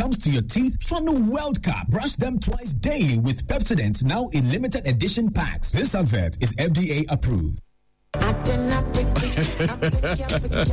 comes to your teeth, Fanu World Cup. Brush them twice daily with Pepsodent now in limited edition packs. This advert is FDA approved.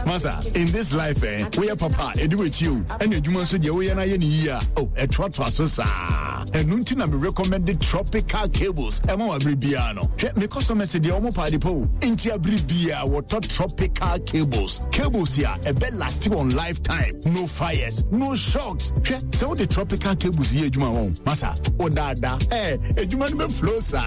Masa, in this life, eh, we are papa, edu with you, and your human so we are na year. Oh, a trot so sa. And nuntin I recommended tropical cables. Emo abribiano. Me customers say the omo party po. Inti abribia water tropical cables. Cables here, a bed last on lifetime. No fires, no shocks. So the tropical cables here, juma home. Masa, oh dada, eh, ejuma no flow sa.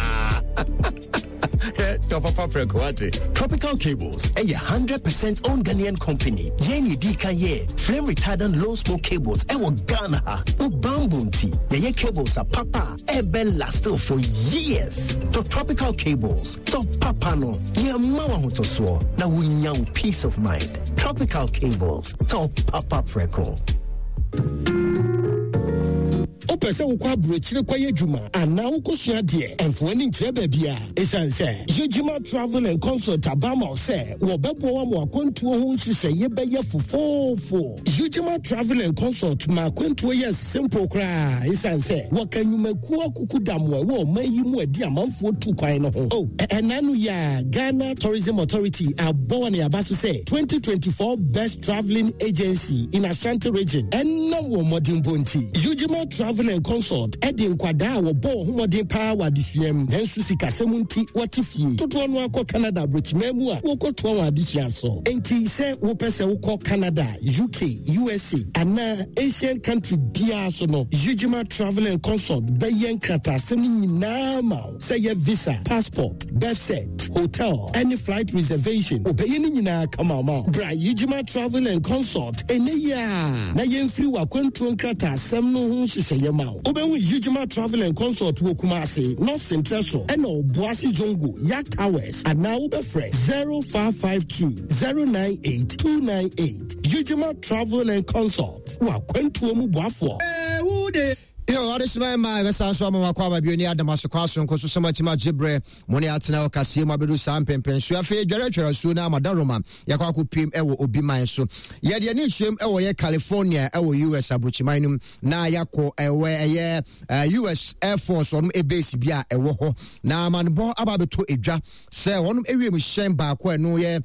Tɔ papa prɛko wate. Tropical Cables ɛyɛ 100% owned Ghanaian company. Yɛn yɛ di kan yɛ flame retardant low smoke cables ɛwɔ Ghana ha. Wo bamboo nti yɛyɛ cables a papa ɛbɛ last for years. Tɔ Tropical Cables, tɔ papa no, yɛ mma wo ahotosoɔ na wonya wo peace of mind. Tropical Cables, tɔ papa prɛko. Wopɛ sɛ wokɔ aburokyire kɔyɛ adwuma anaa wokɔsua adeɛ? Ɛmfa w'ani nkyerɛ baabi a. Ɛsiane sɛ Yejima Travel and Consult aba ama wo sɛ wɔbɛboa wo ama w'akwantuo ho nhyehyɛeɛ bɛyɛ fofoofo. Yejima Travel and Consult ma akwantuo yɛ simple koraa ɛsiane sɛ wɔka nnwumakuo akukudam a ɛwɔ ɔman yi mu a ɛde amanfoɔ tu kwan no ho. Oh, ɛna no yi a Ghana Tourism Authority abɔ wɔn aba so sɛ 2024 Best Traveling Agency in Ashanti Region ɛnam wɔn mmɔdenbɔ nti. Ujima Travel and Consult ɛde nkwadaa a wɔbɔ wɔn ho mmɔden paa wɔ adesua mu nanso sikasɛm nti wɔte fie dodoɔ no akɔ Canada aburokyiman mu a wɔkɔtoa wɔn adesua so. Enti sɛ wopɛ sɛ wokɔ Canada, UK, USA anaa Asian country biara so no, Ujima Travel and Consult bɛyɛ nkrataasɛm no nyinaa ma wo. Sɛ yɛ visa, passport, birth cert, hotel, ɛne flight reservation, wɔbɛyɛ ne nyinaa kama ama wo. Bra Ujima Travel and Consult ɛnnɛ yi ara na yɛmfiri w'akwantuo nkrataasɛm no ho nhyehyɛeɛ ma wo. Wobɛhu Ujima Travel and Consult wɔ Kumasi, North Sentrɛ so, ɛna Obuasi Zongo, Yak Towers, anaa wobɛfrɛ 0552 098 298. Ujima Travel and Consult, w'akwantuo mu boafoɔ. Yo, adesima mma ɛbɛsan so ama wakɔ aba bio ne adam asokɔ asonko so sɛm atim agye berɛ mo ne atena wɔ kaseɛ mu abɛdu saa mpɛmpɛn so afei dwaretwɛre asuo no ama daroma yɛkɔ akɔpiem ɛwɔ obi man so yɛde ani nhyɛm ɛwɔ yɛ California ɛwɔ US aburokyiman no mu na yɛakɔ ɛwɔ ɛyɛ US Air Force wɔn base bi a ɛwɔ hɔ na amanebɔ aba abɛtɔ edwa sɛ wɔn ewiem hyɛn baako a ɛno yɛ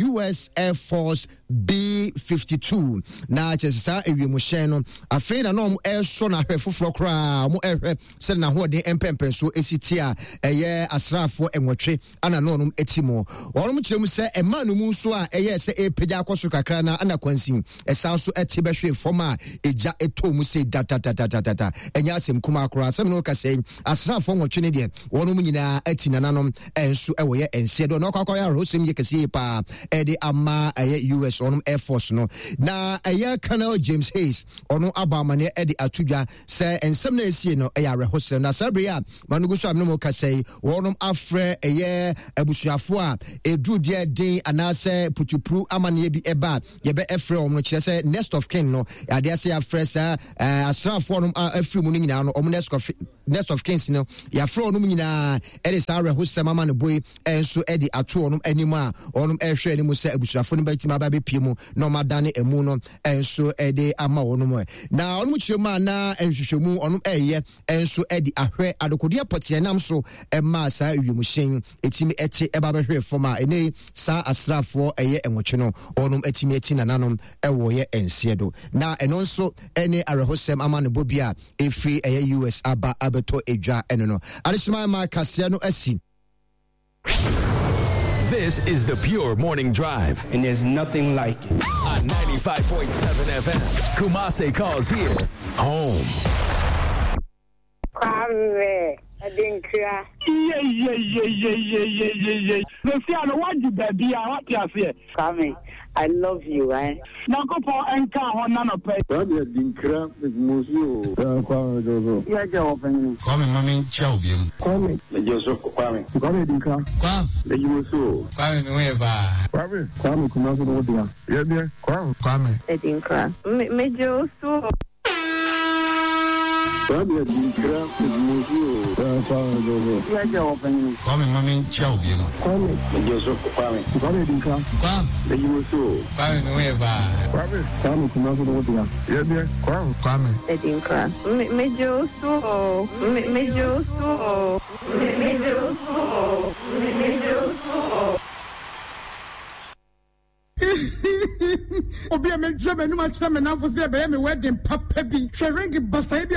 US Air Force B-52 na kyerɛ sɛ saa ewiemhyɛn no afei na na wɔn ɛresɔ no ahwɛ foforɔ koraa wɔn ɛrehwɛ sɛ n'ahoɔden mpɛmpɛnso esi ti a ɛyɛ asraafoɔ nwɔtwe ana na wɔn ti mu wɔn kyerɛ mu sɛ ɛmaa no mu nso a ɛyɛ sɛ ɛrepagya akɔ soro kakra na ana kwansin ɛsan so ɛte bɛhwe fam a egya ɛtɔ mu sɛ datatatatata ɛnyɛ asɛm kumaa koraa asɛm no kasa yi asraafoɔ nwɔtwe ne deɛ wɔn nyinaa ati nananom nso wɔ yɛ nseɛ do na ɔkɔ akɔyɛ awerɛhosɛm yɛ kɛseɛ yie paa ɛde ama ɛyɛ US ɔnom Air Force no na ɛyɛ Colonel James Hayes ɔno abɔ amaneɛ ɛde ato dwa sɛ nsɛm na ɛsie no ɛyɛ awerɛhosɛm na saa bere a manogu so a mene mo kasa yi wɔnom afrɛ ɛyɛ abusuafoɔ a ɛduru deɛ den anaasɛ putupuru amaneɛ bi ɛba a yɛbɛ ɛfrɛ wɔn no kyerɛ sɛ next of kin no adeɛ sɛ yɛafrɛ saa asraafoɔ nom afiri mu no nyinaa no wɔn next of next of kings no yɛafrɛ wɔn nyinaa ɛde saa awerɛhosɛm ama no boe nso ɛde ato wɔn anim a wɔn ɛrehwɛ anim sɛ abusuafo no bɛtumi aba abɛpie mu na wɔn adane ɛmu no nso ɛde ama wɔn mu na wɔn kyerɛ mu a na nhwehwɛmu wɔn ɛreyɛ nso ɛde ahwɛ adekodeɛ pɔteɛ nam so ɛmaa saa wiemhyɛn ɛtumi ɛte ɛba bɛhwɛ fam a ɛnɛ saa asraafoɔ ɛyɛ nwɔtwe no wɔn atumi ati nananom ɛwɔ yɛ nseɛ do na ɛno nso ɛne awerɛhosɛm ama no bɔ bi a ɛfiri ɛyɛ US aba abɛtɔ edwa ɛno no adehyema ma kaseɛ no asi. This is the Pure Morning Drive. And there's nothing like it. On 95.7 FM, Kumase calls here home. Kwame Adinkra. Yeyeyeyeyeyeye. Sɛsi a no wagye baabi a wate aseɛ. Kwame I love you eh. Nyankopɔn nka ho na nɔpɛ. Kwame Adinkra me mo so o. Kwame Jojo. Yɛ gya wɔ panyin. Kwame ma me nkyia wo biom. Kwame. Me gye so Kwame. Kwame Adinkra. Kwame. Me gye mo so o. Kwame me ho yɛ paa. Kwame. Kwame Kumasi no wo dea. Yɛ deɛ Kwame. Kwame. Adinkra. Me me gye wo so o. Kwame Adinkra Mmusu o. Kwame Jojo. Yɛ wɔ panyin. Kwame ma me nkyia wo biom. Kwame. Meje so Kwame. Kwame Adinkra. Kwame. Meji mo so o. Kwame me ho yɛ paa. Kwame. Kwame Kumasi ne wo dea. Yɛ deɛ Kwame. Kwame. Adinkra. Me meje wo so o. Me meje wo so o. Me meje wo so o. Me meje wo so o. Obi a medwerɛ m'anum akyerɛ me nnamfo sɛ ɛbɛyɛ me wedding papa bi. Hwɛ ring basae bi a.